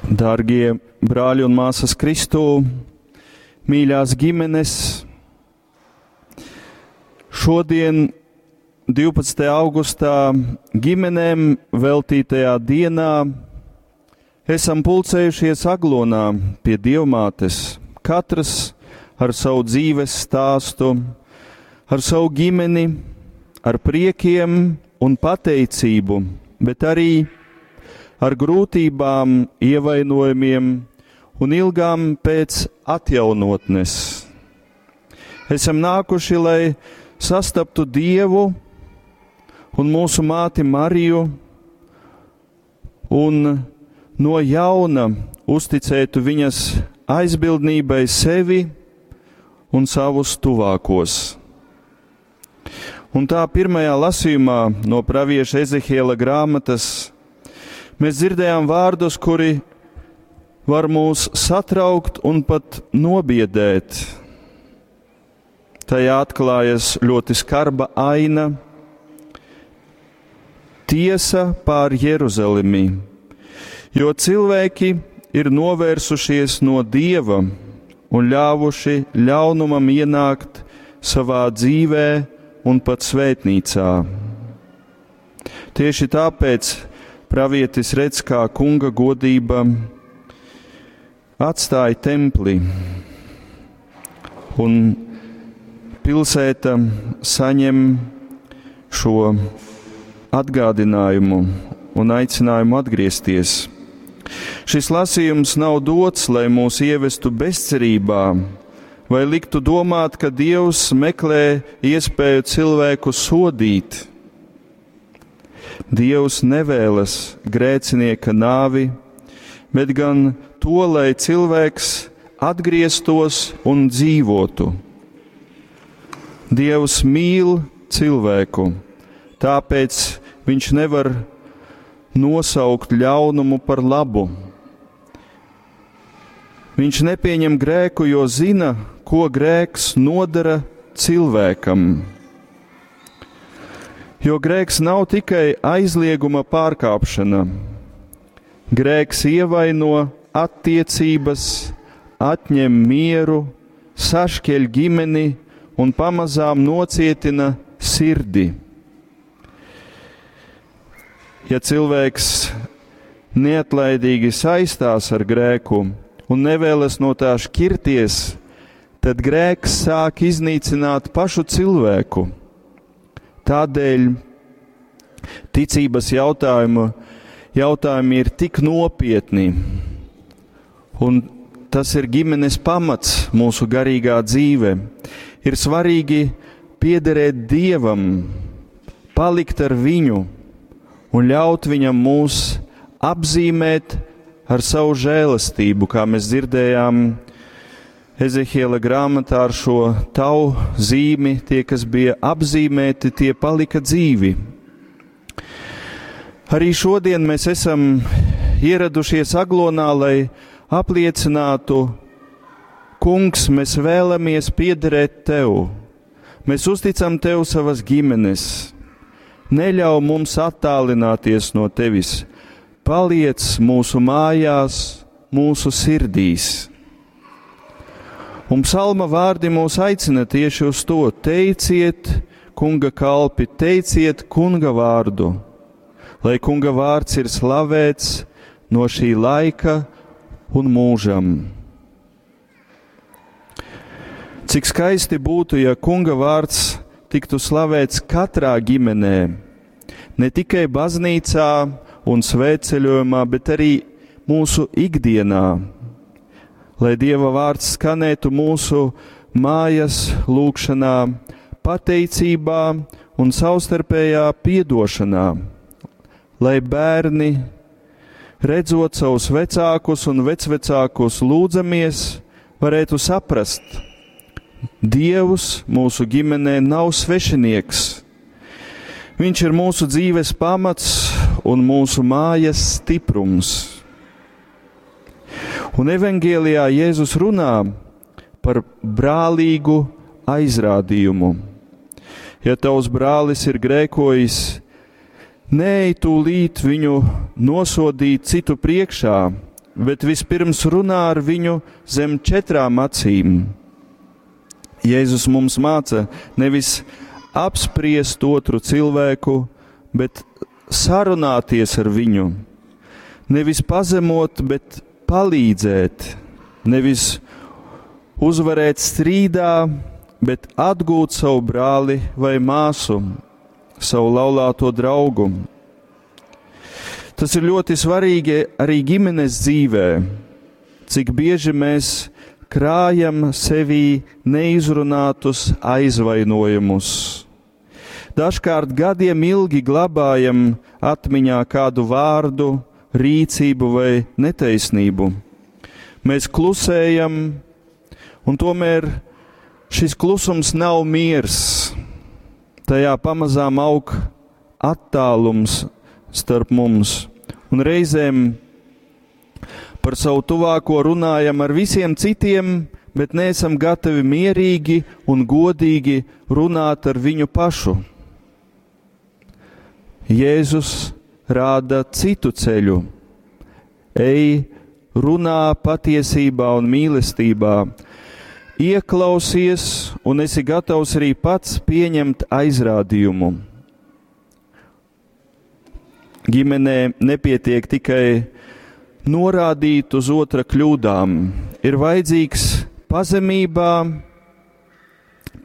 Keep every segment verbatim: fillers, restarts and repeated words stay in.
Dārgie brāļi un māsas Kristū, mīļās ģimenes, šodien, divpadsmitajā augustā, ģimenēm veltītajā dienā, esam pulcējušies Aglonā pie Dievmātes, katrs ar savu dzīves stāstu, ar savu ģimeni, ar priekiem un pateicību, bet arī ar grūtībām, ievainojumiem un ilgām pēc atjaunotnes. Esam nākuši, lai sastaptu Dievu un mūsu māti Mariju un no jauna uzticētu viņas aizbildnībai sevi un savus tuvākos. Un tā pirmajā lasījumā no pravieša Ezehiela grāmatas mēs dzirdējām vārdus, kuri var mūs satraukt un pat nobiedēt. Tajā atklājas ļoti skarba aina – tiesa pār Jeruzalemi, jo cilvēki ir novērsušies no Dieva un ļāvuši ļaunumam ienākt savā dzīvē un pat svētnīcā. Tieši tāpēc pravietis redz, kā kunga godība atstāja templi un pilsēta saņem šo atgādinājumu un aicinājumu atgriezties. Šis lasījums nav dots, lai mūs ievestu bezcerībā vai liktu domāt, ka Dievs meklē iespēju cilvēku sodīt. Dievs nevēlas grēcinieka nāvi, bet gan to, lai cilvēks atgrieztos un dzīvotu. Dievs mīl cilvēku, tāpēc viņš nevar nosaukt ļaunumu par labu. Viņš nepieņem grēku, jo zina, ko grēks nodara cilvēkam. Jo grēks nav tikai aizlieguma pārkāpšana. Grēks ievaino attiecības, atņem mieru, sašķeļ ģimeni un pamazām nocietina sirdi. Ja cilvēks neatlaidīgi saistās ar grēku un nevēlas no tā šķirties, tad grēks sāk iznīcināt pašu cilvēku. Tādēļ ticības jautājumu, jautājumi ir tik nopietni, un tas ir ģimenes pamats mūsu garīgā dzīve. Ir svarīgi piederēt Dievam, palikt ar viņu un ļaut viņam mūs apzīmēt ar savu žēlastību, kā mēs dzirdējām Ezehiela grāmatā ar šo tavu zīmi, tie, kas bija apzīmēti, tie palika dzīvi. Arī šodien mēs esam ieradušies Aglonā, lai apliecinātu, Kungs, mēs vēlamies piederēt Tev. Mēs uzticam Tev savas ģimenes. Neļauj mums attālināties no Tevis. Paliec mūsu mājās, mūsu sirdīs. Un psalma vārdi mūs aicina tieši uz to: teiciet, kunga kalpi, teiciet kunga vārdu, lai kunga vārds ir slavēts no šī laika un mūžam. Cik skaisti būtu, ja kunga vārds tiktu slavēts katrā ģimenē, ne tikai baznīcā un svētceļojumā, bet arī mūsu ikdienā. Lai Dieva vārds skanētu mūsu mājas lūgšanā, pateicībā un savstarpējā piedošanā, lai bērni, redzot savus vecākus un vecvecākus lūdzamies, varētu saprast, Dievs mūsu ģimenē nav svešinieks. Viņš ir mūsu dzīves pamats un mūsu mājas stiprums. Un evaņgēlijā Jēzus runā par brālīgu aizrādījumu. Ja tavs brālis ir grēkojis, neej tūlīt viņu nosodīt citu priekšā, bet vispirms runā ar viņu zem četrām acīm. Jēzus mums māca nevis apspriest otru cilvēku, bet sarunāties ar viņu. Nevis pazemot, bet palīdzēt, nevis uzvarēt strīdā, bet atgūt savu brāli vai māsu, savu laulāto draugu. Tas ir ļoti svarīgi arī ģimenes dzīvē, cik bieži mēs krājam sevī neizrunātus aizvainojumus. Dažkārt gadiem ilgi glabājam atmiņā kādu vārdu, rīcību vai netaisnību. Mēs klusējam, un tomēr šis klusums nav miers. Tajā pamazām aug attālums starp mums, un reizēm par savu tuvāko runājam ar visiem citiem, bet neesam gatavi mierīgi un godīgi runāt ar viņu pašu. Jēzus rāda citu ceļu. Ej, runā patiesībā un mīlestībā, ieklausies un esi gatavs arī pats pieņemt aizrādījumu. Ģimenē nepietiek tikai norādīt uz otra kļūdām. Ir vajadzīgs pazemībā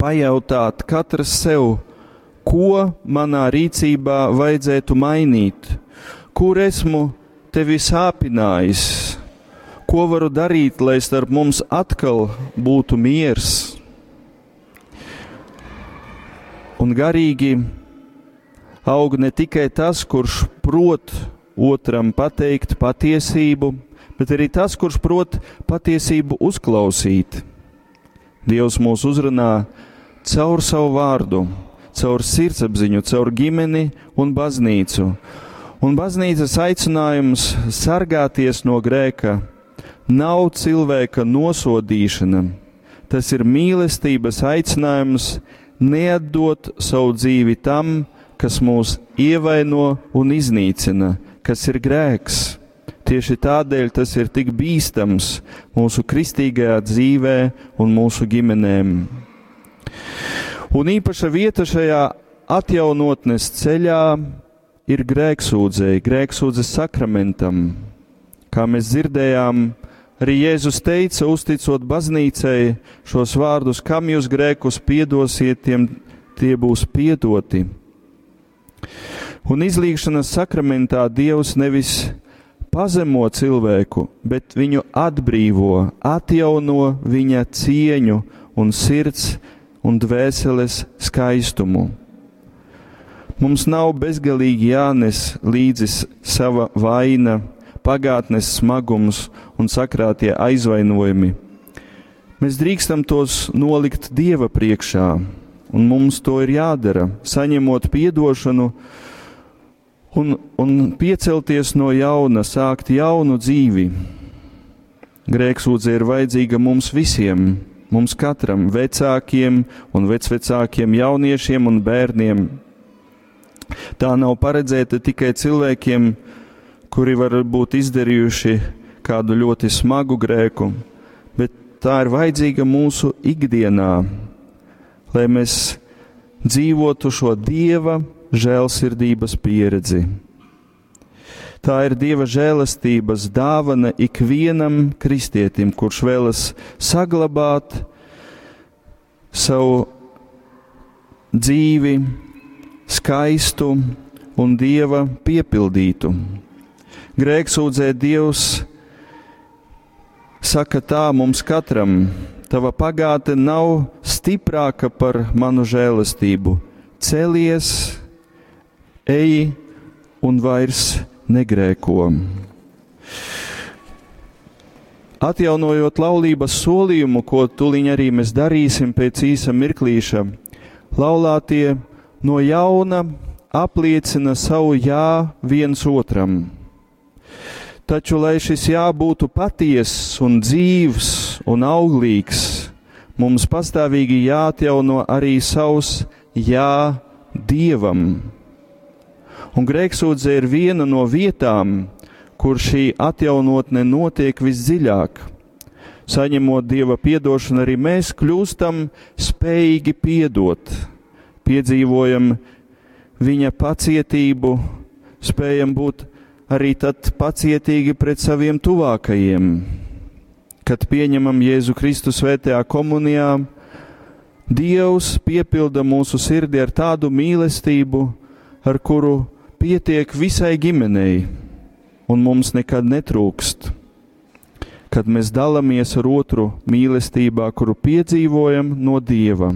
pajautāt katrs sev, ko manā rīcībā vajadzētu mainīt, kur esmu tevi sāpinājis, ko varu darīt, lai starp mums atkal būtu miers. Un garīgi aug ne tikai tas, kurš prot otram pateikt patiesību, bet arī tas, kurš prot patiesību uzklausīt. Dievs mūs uzrunā caur savu vārdu, caur sirdsapziņu, caur ģimeni un baznīcu. Un baznīcas aicinājums sargāties no grēka nav cilvēka nosodīšana. Tas ir mīlestības aicinājums neatdot savu dzīvi tam, kas mūs ievaino un iznīcina, kas ir grēks. Tieši tādēļ tas ir tik bīstams mūsu kristīgajā dzīvē un mūsu ģimenēm. Un īpaša vieta šajā atjaunotnes ceļā ir grēksūdzei, grēksūdzes sakramentam. Kā mēs dzirdējām, arī Jēzus teica, uzticot baznīcai šos vārdus, kam jūs grēkus piedosiet, tiem tie būs piedoti. Un izlīgšanas sakramentā Dievs nevis pazemo cilvēku, bet viņu atbrīvo, atjauno viņa cieņu un sirds un dvēseles skaistumu. Mums nav bezgalīgi jānes līdzi sava vaina, pagātnes smagums un sakrātie aizvainojumi. Mēs drīkstam tos nolikt Dieva priekšā, un mums to ir jādara, saņemot piedošanu un, un piecelties no jauna, sākt jaunu dzīvi. Grēksūdze ir vajadzīga mums visiem, mums katram, vecākiem un vecvecākiem, jauniešiem un bērniem. Tā nav paredzēta tikai cilvēkiem, kuri var būt izdarījuši kādu ļoti smagu grēku, bet tā ir vajadzīga mūsu ikdienā, lai mēs dzīvotu šo Dieva žēlsirdības pieredzi. Tā ir Dieva žēlastības dāvana ikvienam kristietim, kurš vēlas saglabāt savu dzīvi skaistu un Dieva piepildītu. Grēksūdzē Dievs saka tā mums katram: tava pagātne nav stiprāka par manu žēlastību. Celies, ej un vairs negrēko. Atjaunojot laulības solījumu, ko tuliņ arī mēs darīsim pēc īsa mirklīša, laulātie no jauna apliecina savu jā viens otram. Taču, lai šis jā būtu patiess un dzīvs un auglīgs, mums pastāvīgi jāatjauno arī savs jā Dievam. Un grēksūdze ir viena no vietām, kur šī atjaunotne notiek visdziļāk. Saņemot Dieva piedošanu, arī mēs kļūstam spējīgi piedot, piedzīvojam viņa pacietību, spējam būt arī tad pacietīgi pret saviem tuvākajiem. Kad pieņemam Jēzu Kristu svētajā komunijā, Dievs piepilda mūsu sirdi ar tādu mīlestību, ar kuru pietiek visai ģimenei, un mums nekad netrūkst. Kad mēs dalāmies ar otru mīlestībā, kuru piedzīvojam no Dieva.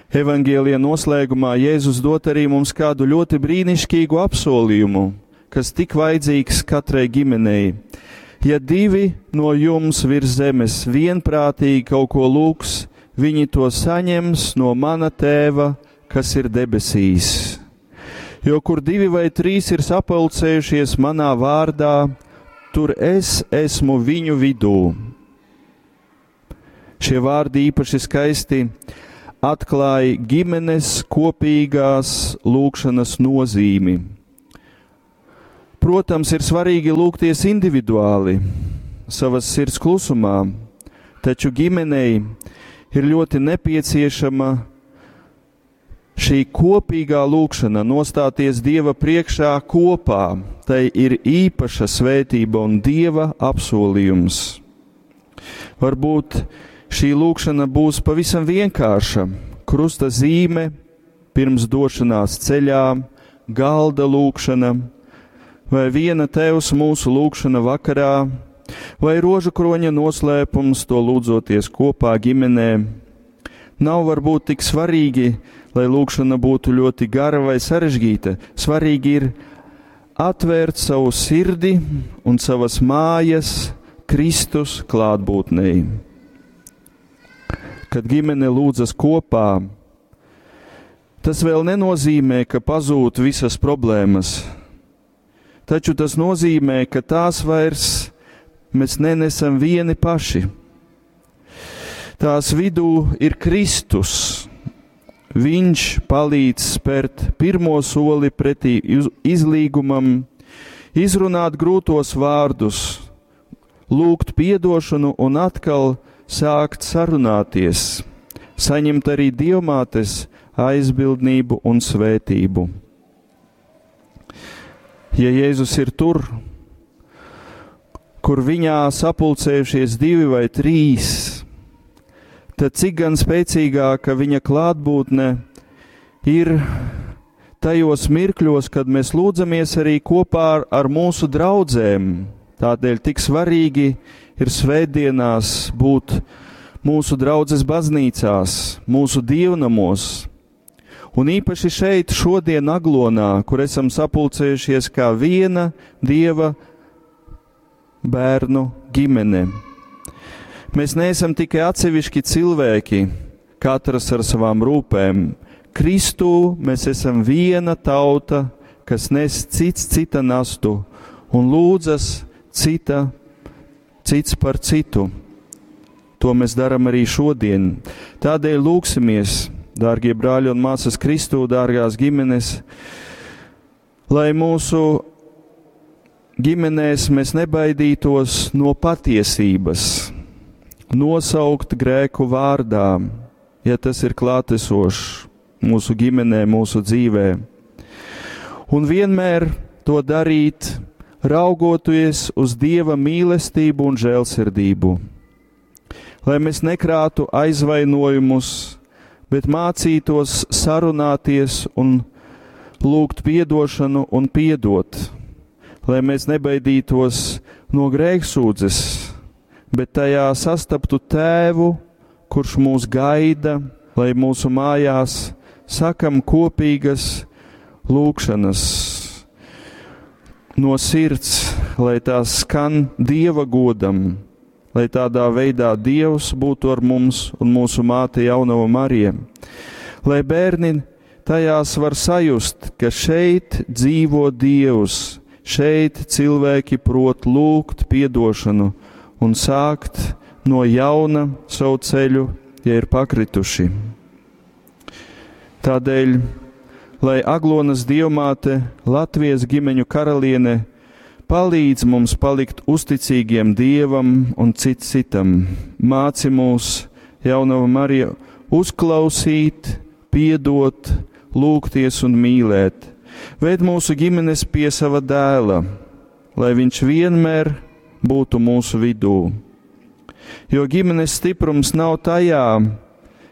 Evangelija noslēgumā Jēzus dot arī mums kādu ļoti brīnišķīgu apsolījumu, kas tik vajadzīgs katrai ģimenei. Ja divi no jums virs zemes vienprātīgi kaut ko lūgs, viņi to saņems no mana tēva, kas ir debesīs. Jo kur divi vai trīs ir sapulcējušies manā vārdā, tur es esmu viņu vidū. Šie vārdi īpaši skaisti atklāja ģimenes kopīgās lūgšanas nozīmi. Protams, ir svarīgi lūgties individuāli, savas sirds klusumā, taču ģimenei ir ļoti nepieciešama šī kopīgā lūgšana, nostāties Dieva priekšā kopā. Tai ir īpaša svētība un Dieva apsolījums. Varbūt šī lūgšana būs pavisam vienkārša. Krusta zīme pirms došanās ceļā, galda lūgšana, vai viena Tēvs mūsu lūgšana vakarā, vai rožu kroņa noslēpums to lūdzoties kopā ģimenē. Nav varbūt tik svarīgi, lai lūgšana būtu ļoti gara vai sarežģīta. Svarīgi ir atvērt savu sirdi un savas mājas Kristus klātbūtnei. Kad ģimene lūdzas kopā, tas vēl nenozīmē, ka pazūd visas problēmas, taču tas nozīmē, ka tās vairs mēs nenesam vieni paši. Tās vidū ir Kristus. Viņš palīdz spērt pirmo soli pretī izlīgumam, izrunāt grūtos vārdus, lūgt piedošanu un atkal sākt sarunāties, saņemt arī dievmātes aizbildnību un svētību. Ja Jēzus ir tur, kur viņā sapulcējušies divi vai trīs, tad cik gan spēcīgāka viņa klātbūtne ir tajos mirkļos, kad mēs lūdzamies arī kopā ar, ar mūsu draudzēm. Tādēļ tik svarīgi ir svētdienās būt mūsu draudzes baznīcās, mūsu dievnamos. Un īpaši šeit, šodien Aglonā, kur esam sapulcējušies kā viena Dieva bērnu ģimene. Mēs neesam tikai atsevišķi cilvēki, katrs ar savām rūpēm. Kristū mēs esam viena tauta, kas nes cits cita nastu un lūdzas cita, cits par citu. To mēs daram arī šodien. Tādēļ lūgsimies, dārgie brāļi un māsas Kristū, dārgās ģimenes, lai mūsu ģimenēs mēs nebaidītos no patiesības, nosaukt grēku vārdā, ja tas ir klātesošs mūsu ģimenē, mūsu dzīvē. Un vienmēr to darīt, raugoties uz Dieva mīlestību un žēlsirdību. Lai mēs nekrātu aizvainojumus, bet mācītos sarunāties un lūgt piedošanu un piedot. Lai mēs nebaidītos no grēksūdzes, bet tajā sastaptu Tēvu, kurš mūs gaida, lai mūsu mājās sakam kopīgas lūgšanas no sirds, lai tās skan Dieva godam, lai tādā veidā Dievs būtu ar mums un mūsu māte Jaunava Marija. Lai bērni tajās var sajust, ka šeit dzīvo Dievs, šeit cilvēki prot lūgt piedošanu un sākt no jauna savu ceļu, ja ir pakrituši. Tādēļ, lai Aglonas dievmāte, Latvijas ģimeņu karaliene, Palīdz mums palikt uzticīgiem Dievam un cits citam. Māci mūs, Jaunava Marija, uzklausīt, piedot, lūgties un mīlēt. Ved mūsu ģimenes pie sava dēla, lai viņš vienmēr būtu mūsu vidū. Jo ģimenes stiprums nav tajā,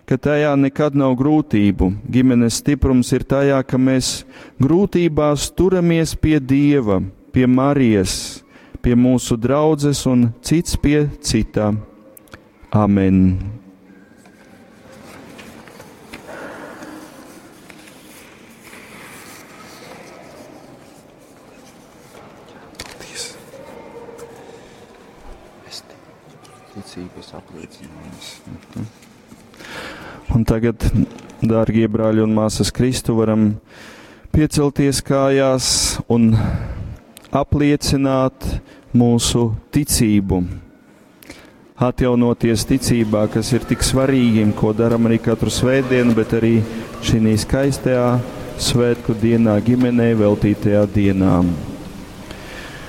ka tajā nekad nav grūtību. Ģimenes stiprums ir tajā, ka mēs grūtībās turamies pie Dieva, pie Marijas, pie mūsu draudzes un cits pie cita. Amen! Ticības apliecinājums. Mhm. Un tagad, dārgie brāļi un māsas Kristu, varam piecelties kājās un apliecināt mūsu ticību. Atjaunoties ticībā, kas ir tik svarīgi, ko daram arī katru svētdienu, bet arī šī skaistajā svētku dienā ģimenei veltītajā dienā.